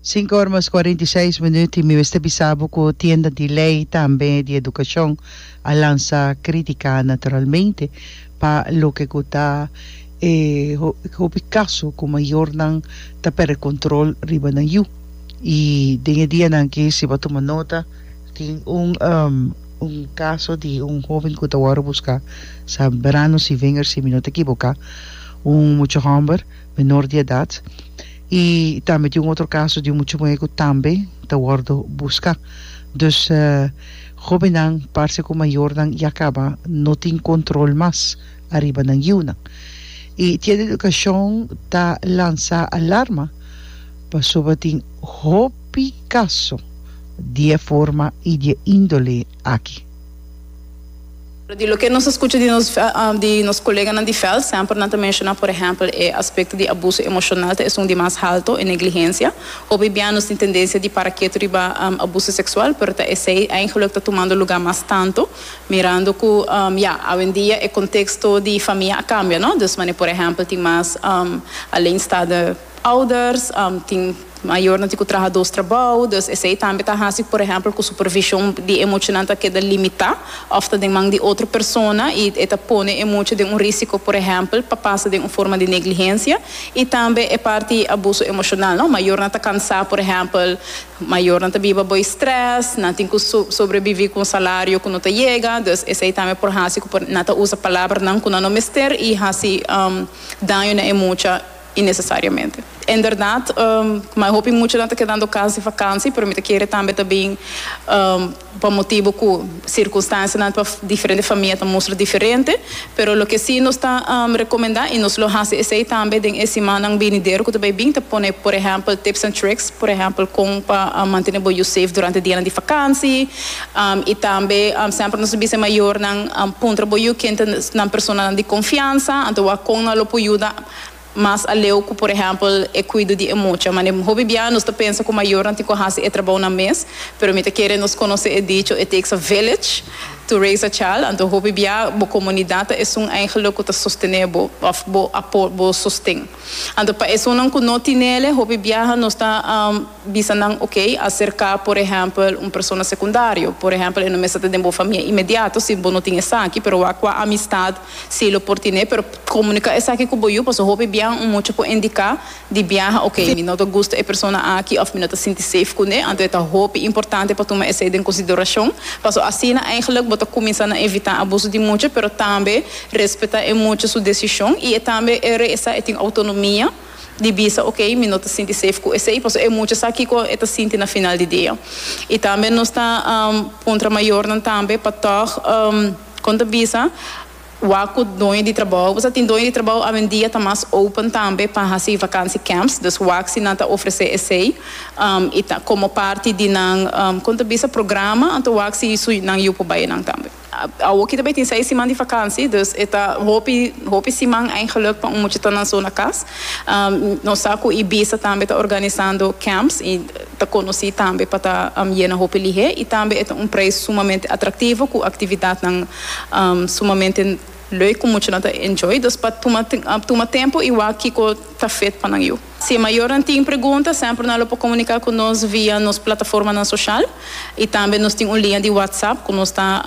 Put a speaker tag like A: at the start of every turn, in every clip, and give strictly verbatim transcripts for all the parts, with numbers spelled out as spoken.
A: Sinku or mas kuarenta i seis minuut i mi mester bisa bo ku tienda di lei tambe di edukashon a lansa kritika naturalmente pa loke ku ta e hopi kaso ku mayornan ta perde kontrol riba nan yu. I den e dianan aki si bo a tuma nota tin un un kaso di un hoben ku ta wòrdu buska Zambrano Sivinger si mi no ta ekiboká, un mucha hòmber menor di edat. I tambe tin un otro kaso di un mucha muhé ku tambe ta wòrdu buska. Dus hóbennan parse ku mayornan ya kaba no tin kontrol mas ariba nan yiunan. I Tienda Edukashon ta lansa alarma pasobra tin hopi kaso di e forma i di e índole aki.
B: Di loke nos a skucha di nos di nos koleganan di vèlt, semper nan ta menshoná por ehèmpel e aspekto di abuso emoshonal ta esun di mas halto, e negligensia. Hopi bia nos tin tendensia di para ketu riba abuso seksual, pero ta esei eigenlik ta tumando lugá mas tantu, mirando ku ya, awendia e konteksto di famia a kambia, no? Dus manera por ehèmpel tin mas alleenstaande ouders, tin mayornan tin ku traha dos trabou, dus esei tambe ta hasi por ehèmpel ku supervishon di e muchanan ta keda limitá òf ta den man di otro persona i e ta pone e mucha den un risiko por ehèmpel pa pasa den un forma di negligensia i tambe e parti abuso emoshonal no. Mayornan ta kansá por ehèmpel, mayornan ta biba boi strès, nan tin ku sobreviví ku un salario ku no ta yega, dus esei tambe por hasi ku nan ta usa palabranan ku nan no mester i hasi daño na e mucha Innecesariamente. Inderdaad, ma hopi muchanan ta kedando cas di vakantie, pero mi ta kere tambe ta bin pa motibo cu circunstancianan pa diferente famia ta mustra diferente. Pero loke si nos ta recomenda y nos lo haci esey tambe den e simannan binidero cu ta bay bin, ta pone por ehempel tips and tricks, por ehempel con pa mantene bo yu safe durante dianan di vakantie. Y tambe semper nos ta bisa e mayornan puntra bo yu ken ta nan personanan di confiansa, anto wak con nan lo por yuda. Mas aleu ku por ehèmpel e kuido di e mucha. Mane hopi bia nos ta pensa ku mayornan tin ku hasi e trabounan mes, pero mi ta kere nos konosé e dicho it takes a village to raise a child, anto hopi bia bo komunidat ta esun eigenlik ku ta sostené bo òf bo apo bo sosten. Anto pa esunnan ku no tinele hopi biaha nos ta bisa nan oke aserká por ehèmpel un persona sekundario, por ehèmpel e no mester ta den bo famia inmediato si bo no tin esaki, pero wak kua amistat si lo por tine, pero komunika esaki ku bo yu, pasobra hopi biaha un mucha por indiká di biaha, ok, mi no ta gusta e persona aki òf mi no ta sinti safe kuné, anto e ta hopi importante pa tuma esei den konsiderashon, pasobra asina eigenlijk bo ta kuminsá na evitá abuso di mucha, pero tambe respetá e mucha su desishon i e tambe e re'esa e tin outonomia di bisa, ok, mi no ta sinti safe ku esei, pasobra e mucha sa kiko e ta sinti na final di dia. I tambe nos ta puntra mayornan tambe pa tòg kon ta bisa, Wak ku doño di trabou. Bo sa tin doño di trabou awendia ta mas open tambe pa hasi vakantie camps, dus wak si nan ta ofresé esei i ta komo parti di nan kon ta bisa programa, anto wak si su nan yu por bai nan tambe. Awoki ta bai tin seis siman di vakantie, dus e ta hopi hopi siman eigenlik pa un mucha ta nan so na kas. Nos sa ku Ibisa tambe ta organisando camps i ta konosí tambe pa ta yena hopi lihé i tambe e ta un preis sumamente atraktivo ku aktividatnan sumamente leuk ku muchanan ta enjoy. Dus pa tuma tuma tempu i wak kiko ta fit pa nan yu. Si e mayornan tin pregunta semper nan lo por komuniká ku nos via nos plataformanan soshal i tambe nos tin un liña di WhatsApp ku nos ta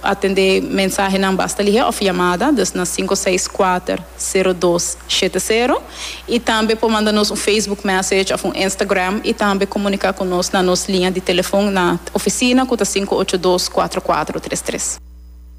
B: Atendé mensahenan basta lihé òf yamada, dus na sinku seis kuater, sero dos, shete sero. I tambe por manda nos un Facebook message òf un Instagram i tambe komuniká ku nos na nos liña di telefon na ofisina ku ta sinku ocho dos, kuatro kuatro tres tres.